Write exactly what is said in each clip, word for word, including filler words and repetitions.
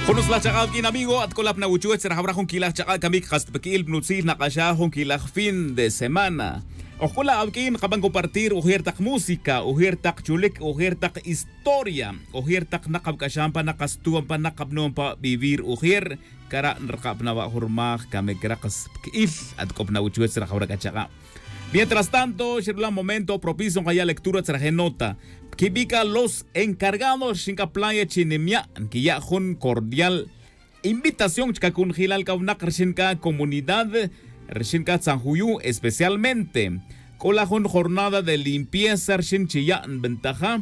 Jun utzlaj chak'a awuq'uin amigo, at c'o la pa na wuchuwech tzra jawra jun quilaj chak'a camic kas ta pa qui'il pa nutzil nak'axaj jun quilaj fin de semana. Oj c'o la awuq'uin kaban compartir ujier tak música, ujier tak chulic, ujier tak historia, ujier tak nak awuc'axan pa nak kastuan pa nak kabnon pa vivir ujier. Cara' nraka' pa na wa' jun rmaj camic ra kas pa qui'il. At c'o pa na wuchuwech tzra jawra c'a chak'a. Mientras tanto xirula momento propicio nkaya' lectura tzra je' nota. Quibi' c'a los encargados rxin c'a playa chi nimya' nquiya' jun cordial invitación chca cunjilal c'a winak rxin c'a comunidad rxin c'a tzanjuyu. Especialmente c'o la jun jornada de limpieza rxin chi ya' nbentaja.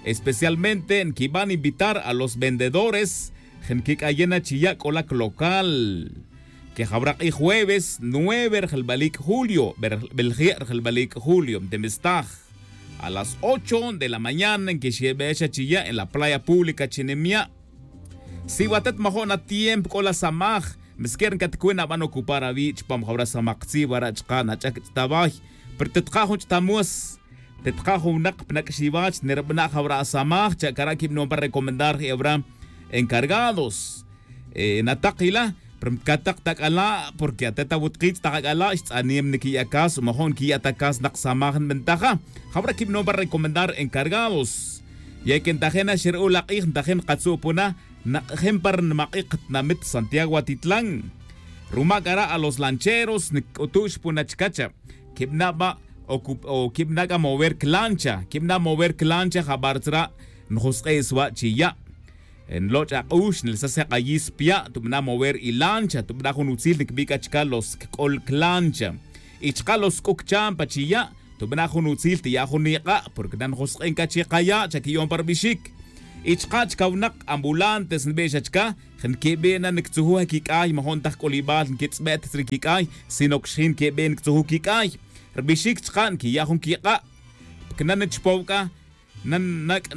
Especialmente nquiban invitar a los vendedores je' nquic'ayen na chi ya' c'o la clocal. Que jawra k'ij jueves nueve rjelbalic' julio, belje' rjelbalic' julio ntimistaj a las ocho de la mañana nquixebex xa chi ya' en la playa pública chi nimya'. Si watet majo' na tiempo c'o la samaj, msquer ncatcuen aban ocupar awi' chupam jawra samak tzij wara' chka' nach'ac ch'taway. Pero tetja' jun ch'tamues, tetja' jun winak pa nac'xiwach nerbana' jawra asamaj cha' cara' quibanon pa recomendar je' awra encargados. Natak ila pero mcatak ta c'ala', porque atet awutkitz' tak ac'ala' xtz'anem niquiya' cas o majo' niquiya' ta cas nak samaj nbentaja. Jawra quibanon pa recomendar encargados. Ya que ntajen na xeru'ul ak'ij ntajen nkatzu' puna nak'ajen pa rnimak'ik tinamit santiago atitlan. Ruma' cara' a los lancheros nc'utu'x puna chcacha. Quibana' ba o quibana' c'a mover clancha quibana' mover clancha jabar tzra'. Njusk'e' swa' chi ya' nloch' ak'ux nelsase' k'ayis pya' tubana' mover ilancha tubana' jun utzil nquibi' c'a chca los cc'ol clancha. Y chka' los c'uc champa chi ya' tubana' jun utzil tiya' jun ik'a' porque na njusk'en c'a chi kaya' chaquiyon pa rbixic. Y chka' chca winak ambulantes nbixa chca je' nquibi' na nctzujuj aquiq'uay majo' ntaj c'ulibal nquitz'bet tzri quiq'uay sino que xjin nquibi' nctzujuj quiq'uay. Rbixic chka' nquiya' jun quik'a'. Porque na nchpow c'a na nac'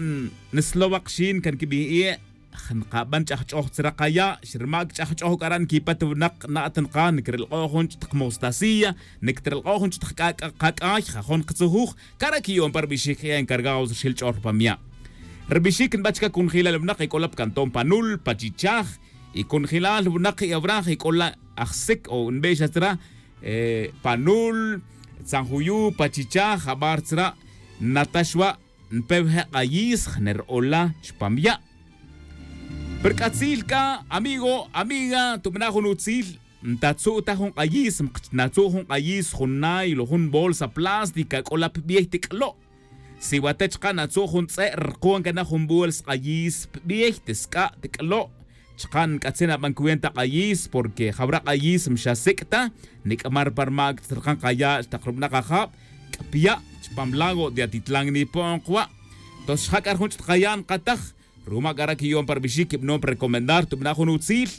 nslow akxin can quibij ie'. Nkaban ch'ajch'oj tzra kaya' xrma' cch'ajch'oj c'ara' nquipet winak na' at nkaj ncrelk'o' jun ch'tak mostacía nctrelk'o' jun ch'tak kac'ay jajon ktzujuj. Cara' quiyon pa rbixic je' encargados rxil ch'ol pa mya'. Rbixic nba chca cunjilal winak ec'ola pa cantón panul pa chichaj. Y cunjilal winak je' awraj ec'ola ajsic o nbexa tzra panul tzanjuyu pa chichaj jabar tzra. Natax wa' npe wije' k'ayis jner ola chupam ya'. Pero c'atzil c'a amigo amiga tubana' jun utzil ntatzu' ta jun k'ayis mkchnatzu' jun k'ayis jun nailo jun bolsa plástica c'ola pbiey tic'lo'. Si wate chka' natzu' jun tz'e' rkuan cana jun bolsa k'ayis pbiey tisc'a' tic'lo'. Chka' nc'atzin aban cuenta k'ayis porque jawra k'ayis mxasic' ta nic'mar pa rmac tzrakan kaya' xtak rubana' kajab. C'apya' chupam lago de atitlan nipo'on kwa'. Tos xja' c'a rjun ch'takaya' nkataj ruma' c'ara' quiyon pa rbixic quibanon pa recomendar tubana' jun utzil.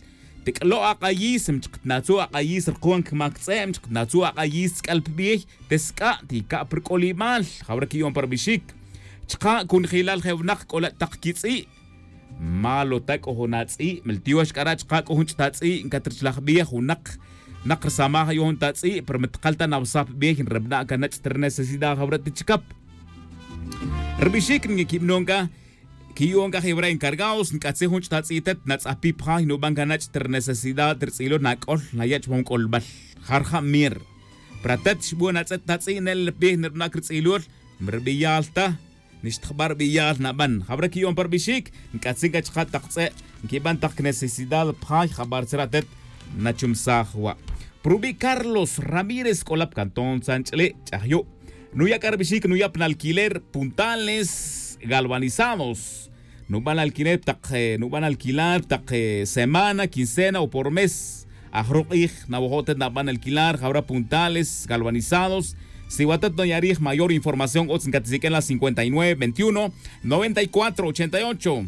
Tic'lo' ak'ayis mchkatnatzu' ak'ayis rkuan cmac tz'e' mchkatnatzu' ak'ayis tz'ic'al pbiey. Tisc'a' tica' pa rc'ulibal jawra quiyon pa rbixic. Chka' cunjilal je' winak c'ola' tak quitz'i'. Malo ta c'o jun atz'i' miltiox c'ara' chka' c'o jun ch'tatz'i' ncatrchlaj bej winak. Nak rsamaj ayu' jun tatz'i' pero mitkal ta nawsaj pa bej nrebana' canach' ta rnecesidad jawra' ta chicap. Rbixic nquibanon c'a quiyon c'a je' wara' encargados nc'atzin jun ch'tatz'i' tet natz'ajpi pa jay nuban canach' ta rnecesidad rtz'ilol nac'ol naya' chupam c'olbal. Ja rja' mir pero atet xbon atz'et tatz'i' nel pa bej nrebana' crtz'ilol. Mrbiyal ta nixtjbar biyal naban jawra quiyon pa rbixic. Nc'atzin c'a chka' tak tz'e' nquiban tak necesidad pa jay jabar tzra' tet nachumsaj wa'. Prubi' carlos ramírez c'ola pa cantón tzanch'li' ch'ajyu'. Nuya' c'a rbixic nuya' pan alquiler puntales galvanizados. Nuban alquiler tak nuban alquilar tak semana quincena o por mes. Ajruk' k'ij nawojo' tet naban alquilar jawra puntales galvanizados. Si watet noyarij mayor información utz ncatisiq'uen la cincuenta y nueve veintiuno noventa y cuatro ochenta y ocho.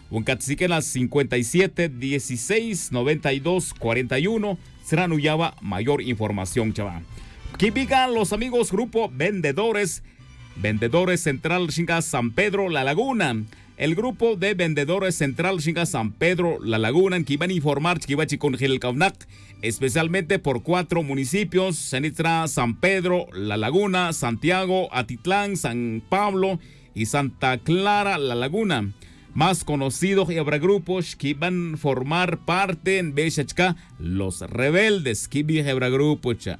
O ncatisiq'uen la cincuenta y siete dieciséis noventa y dos cuarenta y uno. Tzra' nuya' wa' mayor información chawa'. Quibica los amigos grupo vendedores vendedores central rxin c'a san pedro la laguna. El grupo de vendedores central rxin c'a san pedro la laguna nquiban informar chiquiwech i conojel el c'awnak especialmente por cuatro municipios xanit ra san pedro la laguna santiago atitlán san pablo y santa clara la laguna. más conocido jebra grupo xquiban formar parte nbexa chca los rebeldes quibij jebra grupo cha.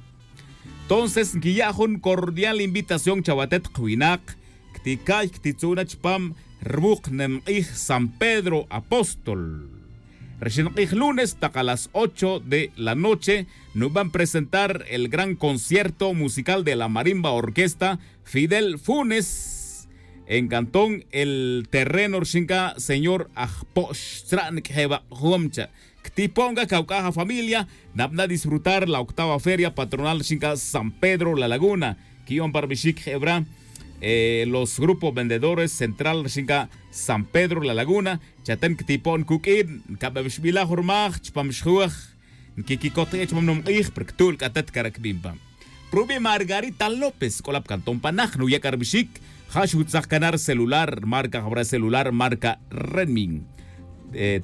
Entonces nquiya' jun cordial invitación chawatet kwinak cticay ctitzu'na chupam rwuk nemk'ij san pedro apóstol. Rixin k'ij lunes tak a las ocho de la noche nuban presentar el gran concierto musical de la marimba orquesta fidel funes en cantón el terreno rixin ca señor ajpo'x tzra' niq'uejebak'jom cha. Ctipo'n ca cauc'aj afamilia nabna' disfrutar la octava feria patronal rixin ca san pedro la laguna. Quiyo'on pa rbixic jebra los grupos vendedores central rixin ca san pedro la laguna. Chaten ctipo'n cuq'uin cabebxbilaj rmaj chupam xjuej nquiquicot je' chupam numk'ij pero ctu'l c'a tet cara' cbin pa. Rubi' margarita lópez c'o la pa cantón panaj nuya' c'a rbixic. Ja' xutzak cana' rcelular marca jabra celular marca redmin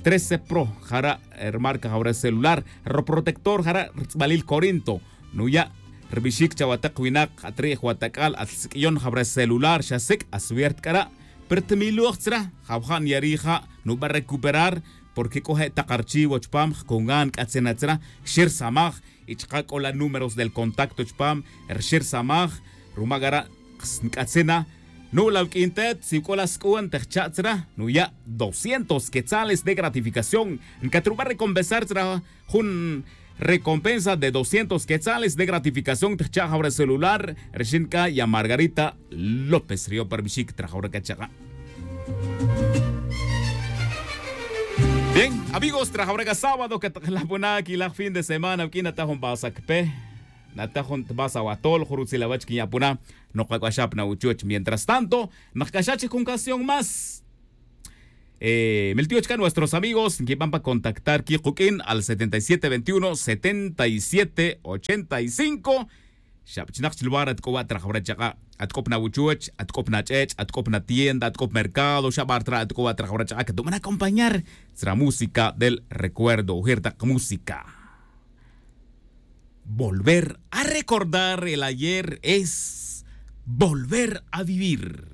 trece pro jara' rmarca jabra celular. Roprotector jara' rtz'balil corinto nuya' rbixic chawatek winak atri' jwatac'al atzq'uiyon jabra celular xa sic' aswiert c'ara'. Pero tmiloj tzra' jawja' nyari' ja' nuba' recuperar porque c'o je' tak archivo chupam jcungan c'atzin atzra xersamaj. Y chaka' c'o la números del contacto chupam rxersamaj. Ruma c'ara' nc'atzin na nu'l awq'uin tet si c'o la sc'u'an tejcha' tzra' nuya' doscientos quetzales de gratificación. Ncatruba' recompensar tzra' jun recompensa de doscientos quetzales de gratificación tejcha' jawra celular rixin c'a ya margarita lópez riyo' pa rbixic trajawra c'a chaka'. Bien amigos trajawra c'a sábado que tak la puna quilaj fin de semana awq'uin nata jun basa cpe nata jun tbasa awatol jun rutzil awach quinya' puna. Nokac'axa' pa na uchuch mientras tanto nokac'axa' chi jun canción más. Miltiyo' chca nuestros amigos nquiban pa contactar quiquq'uin al setenta y siete veintiuno setenta y siete ochenta y cinco. Xab chi nak chi lugar atc'oba' trajawra chaka' atc'ob na wuchuch atc'ob na ch'ech' atc'ob na tienda atc'ob mercado xab artra' atc'oba' trajawra chaka' catubana acompañar tzra música del recuerdo ujir tak música. Volver a recordar el ayer es volver a vivir.